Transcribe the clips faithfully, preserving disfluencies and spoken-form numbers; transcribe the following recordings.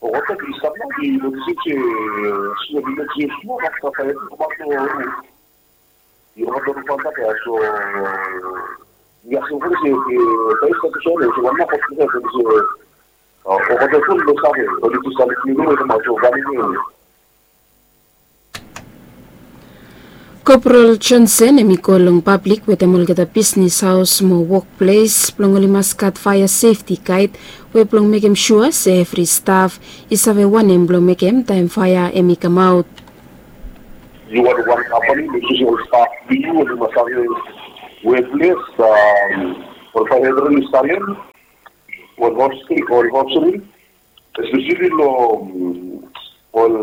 O koto ki stap nao ki notisim se sua ki notisim sua mak stap faia tu mak no. Yu wan donu fanta ka so yu asking for se ke pai sa ke so ne so wan na ko ke ke se o ko te kun do sa ke o di tu sa ni ni ma so wan ni. Koprol Johnson hem i go long pablik wetem olgeta bisnis haos mo wokples blong oli mas gat faea sefti gaed we blong mekem sua se evri staf i save wanem blong mekem taem faea hem i kamaot. Yu wan wan kampani, make sure se ol staf blong yu oli mas save wea ples, ol faea retrenis talem, ol hopsri, ol hopsri, espeseli long ol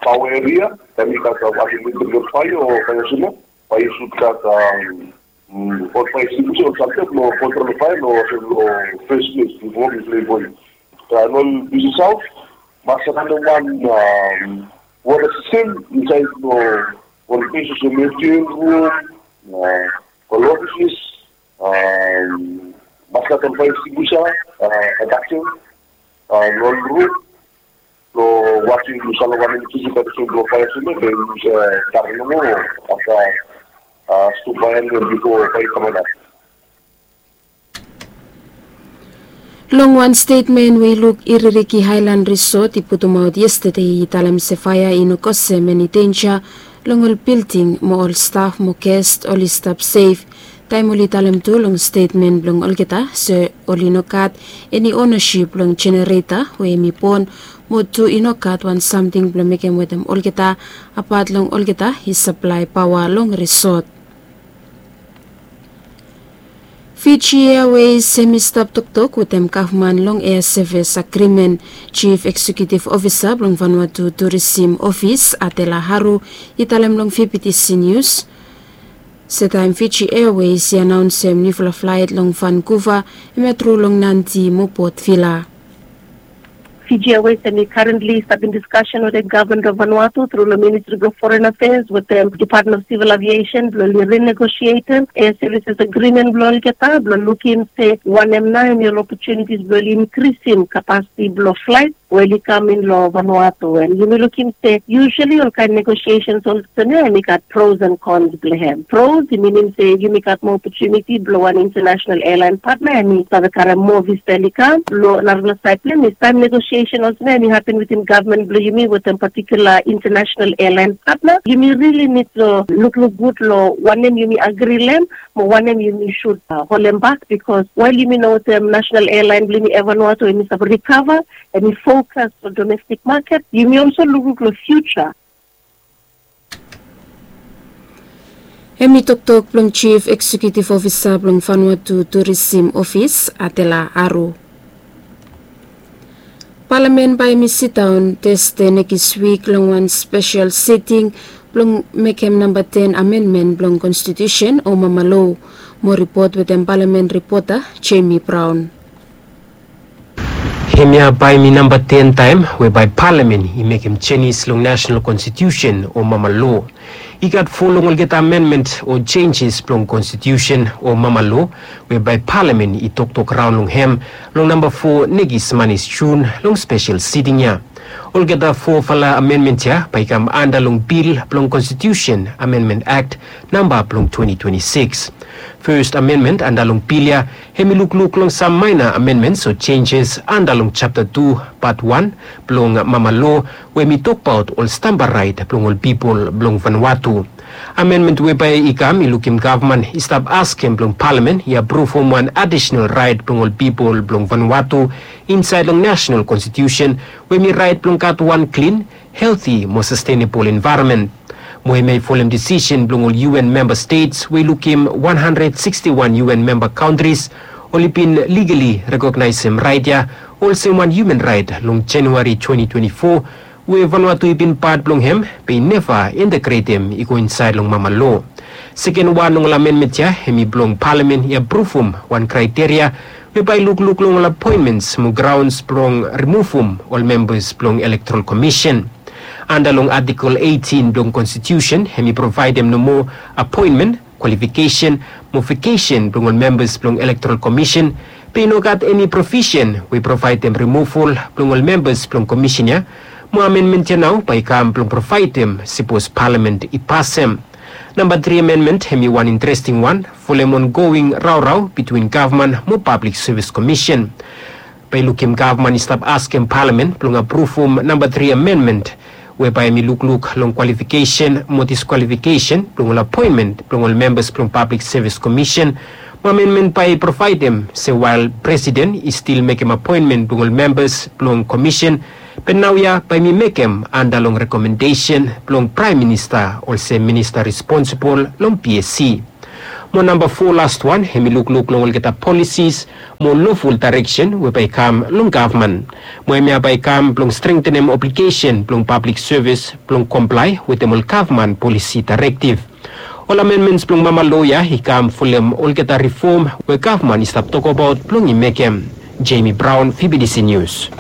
paoa eria, taem i gat wan eletrik faea o faea suma, bae yu sud gat ol faea ekstinguisha o samting blong kontrol faea long olsem long fes ples bifo mi plei boi. Taem ol bisnis haos mas gat wan wota sistem insaed long ol ples olsem eftien rum, ol ofises, mas gat ol faea ekstinguisha, adaksen, long ol rum, long wasim yu save wanem tu yu gat tu blong faea suma, then yu save stap nomo afta stum faea nao bifo faea i kamaot. Long wan stetmen we i luk Iririki Haelan Risot i putumaot yestade i talem se faea i no kasem eni denja long ol bilding mo ol staf mo gest oli stap sef. Taem oli talem tu long stetmen blong olgeta se oli no gat eni onasip long jenereta we hem i bon mo tu i no gat wan samting blong mekem wetem olgeta apat long olgeta i saplae paoa long risot. Fiji Airways hem i stap toktok wetem gavman long ea sevis agrimen. Jif eksekiutiv ofisa blong Vanuatu Turisim Ofis Atela Haru i talem long V B T C Nius se taem Fiji Airways i anaonsem niufala flaet long Vankuva hem ya tru long Nadi mo Port Vila. Fiji Airways hem i karentli stap in diskasen wetem gavman blong Vanuatu tru long Ministri blong Foren Afeas wetem Depatmen of Sivil Aviesen blong oli rinegosietem ea sevises agrimen blong olgeta blong lukim se wanem nao hem i ol opotunitis blong oli inkrisim kapasiti blong flaet we oli kam in long Vanuatu. And yumi lukim se yusali ol kaen negosiesens olsem ya hem i gat pros and kons blong hem. Pros i minim se yumi gat moa opotuniti blong wan intanasenal ealaen patna hem i save karem moa vista oli kam. Long narafala saed blong hem i taem negosiesen olsem ya hem i hapen wetem gavman blong yumi wetem patikula intanasenal ealaen patna, yumi rili nid long lukluk gud long wanem yumi agri long hem mo wanem yumi sud holem bak, bikos wael yumi no wetem nasenal ealaen blong yumi Air Vanuatu hem i save rikava, hem i fokas long domestik maket, yumi olso lukluk long fiuja. Hem i toktok blong Jif Eksekiutiv Ofisa blong Vanuatu Turisim Ofis Atela Haru. Palamen bae hem i sidaon Tasde nekis wik long wan spesel siting blong mekem namba ten amenmen blong konstitiusen o mama lo. Moa ripot wetem Palamen ripota Jemi Braon. Hemia bae hem i namba ten taem we bae Palamen i mekem jenis long nasenal konstitiusen o mama lo. I gat fo long olgeta amenmen o jenjes blong konstitiusen o mama lo we bae Palamen i toktok raon long hem long namba fo nekis manis Jun long spesel siting ya. Olgeta fofala amenmen ya bae i kam anda long bil blong Konstitiusen Amenmen Akt namba blong twenti twenti sikis. Fes amenmen anda long bil ya hem i lukluk long sam maena amenmens o jenjes anda long japta tu pat wan blong mama lo we hem i tokbaot ol stamba raet blong ol pipol blong Vanuatu. Amenmen we bae i kam i lukim gavman i stap askem blong Palamen i apruvum wan adisenal raet blong ol pipol blong Vanuatu insaed long nasenal konstitiusen we hem i raet blong gat wan klin healthy mo sustainable environment. Mo hemia i folem disisen blong ol U N member states we i lukim wan handred sikstiwan U N member kantris oli bin ligeli rekognaesem rait ya olsem wan human rait long January twenty twenty-four, we Vanuatu i bin pat blong hem be i neva integretem i go insaed long mama lo. Seken wan long ol amenmen ya hem i blong palamen i apruvum wan kraeteria we bae i lukluk long ol apoenmens mo graons blong rimuvum ol membas blong Elektoral Komisen. Anda long Atikel eitin blong Konstitusen hem i provaedem nomo apoenmen, kwalifikesen mo vakesen blong ol membas blong Elektoral Komisen, be i no gat eni provisen we i provaedem rimuval blong ol membas blong komisen ya. Mo amenmen ya nao bae i kam blong provaedem sipos palamen i pasem. Namba tri amenmen hem i wan interesting wan folem ongoing raorao bitwin gavman mo Pablik Sevis Komisen. Bae i lukim gavman i stap askem palamen blong apruvum namba tri amenmen, we bae hem i lukluk long kwalifikesen mo diskwalifikesen blong ol apoenmen blong ol membas blong Pablik Sevis Komisen. Mo amenmen bae i provaedem se wael presiden i stil mekem apoenmen blong ol membas blong komisen, be naoia bae hem i mekem anda long rekomendesen blong Praem Minista olsem minista responsibol long P S C. Mo namba fo, lastwan, hem i lukluk long olgeta polisis mo loful daereksen we bae i kam long gavman. Mo hemia bae i kam blong strengtenem obligesen blong pablik sevis blong komplae wetem ol gavman polisi daerektiv. Ol amenmens blong mama lo ya i kam folem olgeta rifom we gavman i stap tokbaot blong i mekem. Jamie Brown, V B D C News.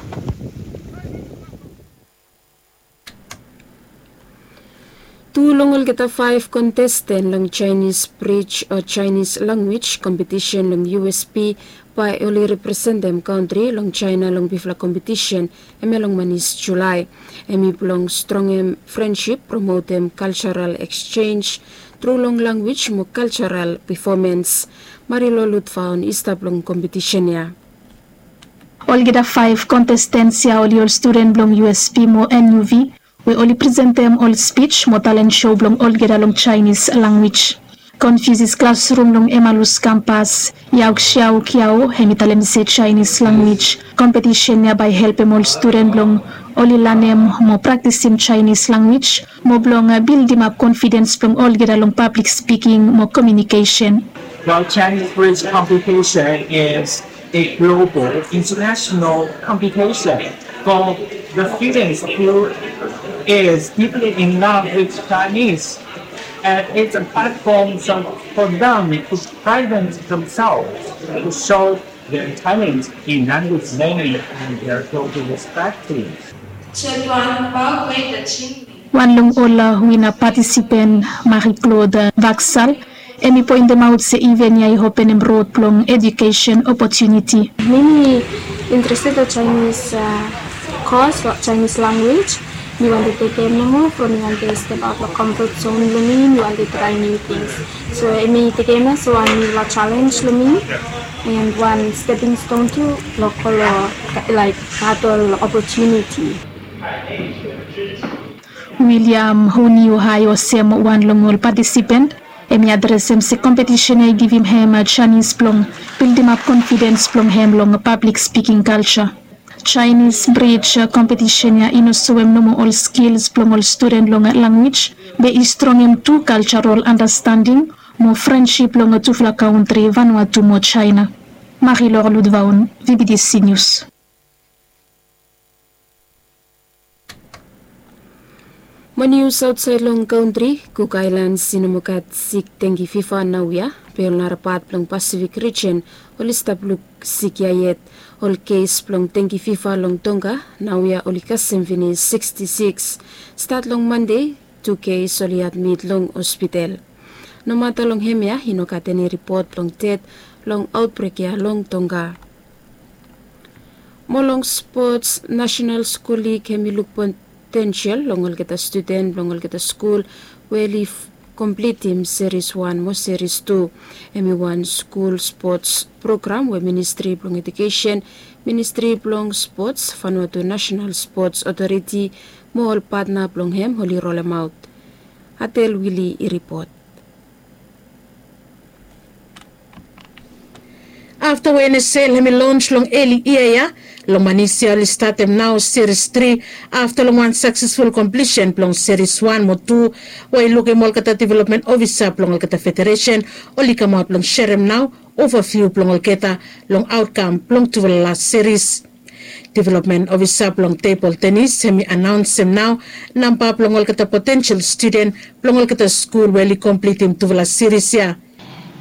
Tu long olgeta faef kontesten long Chinese Bridge o Chinese Language kompetisen long U S P bae oli representem kantri long China long bifala kompetisen, hemia long manis Julae. Hem i blong strongem frensip, promotem kaljaral eksenj tru long lanwis mo kaljaral pefomens. Marilo Lutfaon i stap long kompetisen ya. Olgeta faef kontestens ya oli ol studen blong U S P mo N U V, we oli presentem ol spij mo talen sou blong olgeta long Chinese lanwis. Confucius Classroom long Emmaus kampas, Yao Xiao Kiao, hem i talem se Chinese lanwis kompetisen ya bae i helpem ol studen blong oli lanem mo praktisim Chinese lanwis mo blong bildimap konfidens blong olgeta long pablik spiking mo komiunikesen. Well, Chinese Bridge competition is a global, international competition for the students who is deeply in love with Chinese. And it's a platform so for them to present themselves, to show their talent in language learning and their global perspective. Wan long ol wina patisipen, Marie Claude Vaksal, hem i poentemaot se iven ya i openem rod blong ejukesen opotuniti. Mi mi interested long Chinese kos, Chinese lanwis. Mi wantem tekem nomo from mi wantem step aot long komfot zon blong mi, mi wantem traem niu tings. So hemi tekem ya olsem wan niufala jalenj long mi, and wan steping ston tu long go long laek gat ol opotuniti. William Huniu Hai olsem wan long ol patisipen, hemi adresem se kompetisen ya i givim hem janis blong bildimap konfidens blong hem long pablik spiking kalja. Chinese Bridge kompetisen ya i no soem nomo ol skils blong ol studen long lanwis, be i strongem tu kaljarol andastanding mo frensip long tufala kantri, Vanuatu mo China. Marie-Laure Ludvaon, V B D C News. Mo nius aotsaed long kantri, Cook Islands i no moa gat sik dengue fever naoia, be ol nara pat blong Pacific region oli stap luk sik ya yet. Ol kes blong dengue fever long Tonga naoia oli kasem finis sixty-six. Stat long Mande, tu kes oli admit long hospital. Nomata long hemia, i no gat eni ripot blong ded long aotbrek ya long Tonga. Mo long spots, National School League hemi luk potensel long olgeta studen blong olgeta skul we oli komplitim seris wan mo seris tu. Hemi wan skul spots program we Ministri blong Ejukesen, Ministri blong Spots, Vanuatu National Spots Otoriti mo ol patna blong hem oli rolemaot. Atel Wili i ripot. Afta we N S L hem i lons long eli yia ya, long manis ya oli statem nao seris tri. Afta long wan saksesful komplisen blong seris wan mo tu, we i lukim olgeta developmen ofisa blong olgeta federesen oli kamaot blong serem nao ovaviu blong olgeta long aotkam blong tufala las seris. Developmen ofisa blong tebol tenis hem i anaonsem nao namba blong olgeta potensel studen blong olgeta skul we oli komplitim tufala seris ya.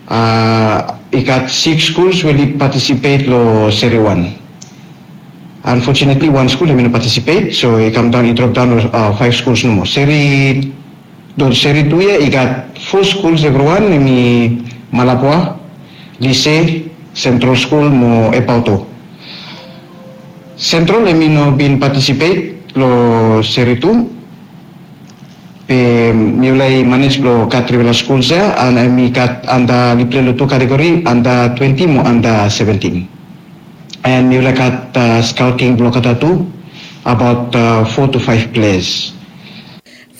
I gat siks skuls we oli patisipet long seri wan. Anfotunetli wan skul hem i no patisipet, so i kam daon, i drop daon long faef skuls nomo. Seri, long seri tu ya i gat fo skuls evriwan, hem i Malabwa, Lise, Sentral Skul mo Epauto. Sentral hem i no bin patisipet long seri tu. Be mifala i manej blong gat trifala skuls ya, an hem i gat anda, oli pilei long tu kategori, anda twenti mo anda seventin. An mifala i gat skaoting blong olgeta tu, abaot fo tu faef pleas.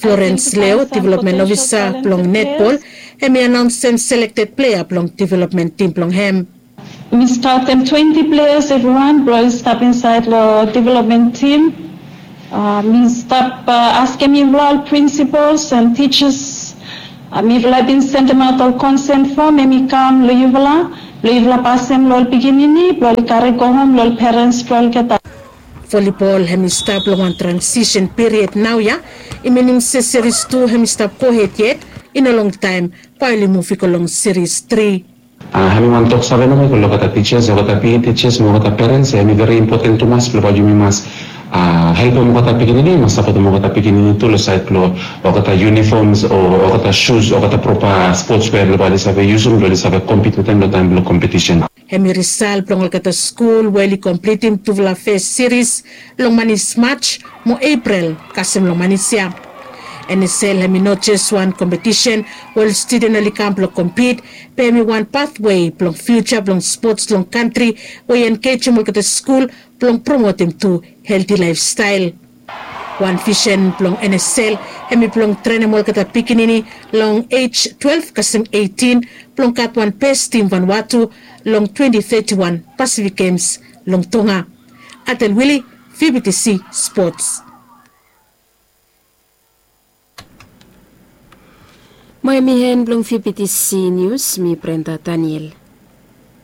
Florens Leo, developmen ofisa blong netbol, hem i anaonsem selekted plea blong developmen tim blong hem. Mi skaotem twenti pleas evriwan blong oli stap insaed long developmen tim. Mi stap askem yufala ol prinsipols an tijas. Mifala i bin sendemaot ol konsen fom, hem i kam long yufala blong yufala pasem long ol pikinini blong oli kare gohom long ol perens blong olgeta. Volibol hem i stap long wan transisen piried naoia. I minim se seris tu hem i stap gohed yet. I no longtaem bae oli muv i go long seris tri. Hem i wan toksave nomo i go long olgeta tijas, olgeta pikinini tijas mo olgeta perens. Hem i veri impoten tumas blong bae yumi mas helpem olgeta pikinini, mas sapotem olgeta pikinini tu long saed blong olgeta yunifoms o olgeta sus, olgeta propa spots wea blong bae oli save yusum blong oli save kompit wetem long taem blong kompetisen. Hem i risal blong olgeta skul we oli komplitim tufala fes seris long manis Maj mo Epril kasem long manis ya. N S L hem i no jes wan kompetisen we ol studen oli kam blong kompit, be hem i wan pathwe blong fiuja blong spots long kantri we i engejem olgeta skul blong promotem tu helti laefstael. Wan visen blong N S L hem i blong trenem olgeta pikinini long ej twelef kasem eitin blong gat wan bes tim Vanuatu long twenti teti wan Pasifik Gems long Tonga. Atel Wili, V B T C Spots. Mo hem i hen blong V B T C Nius, mi Brenda Daniel.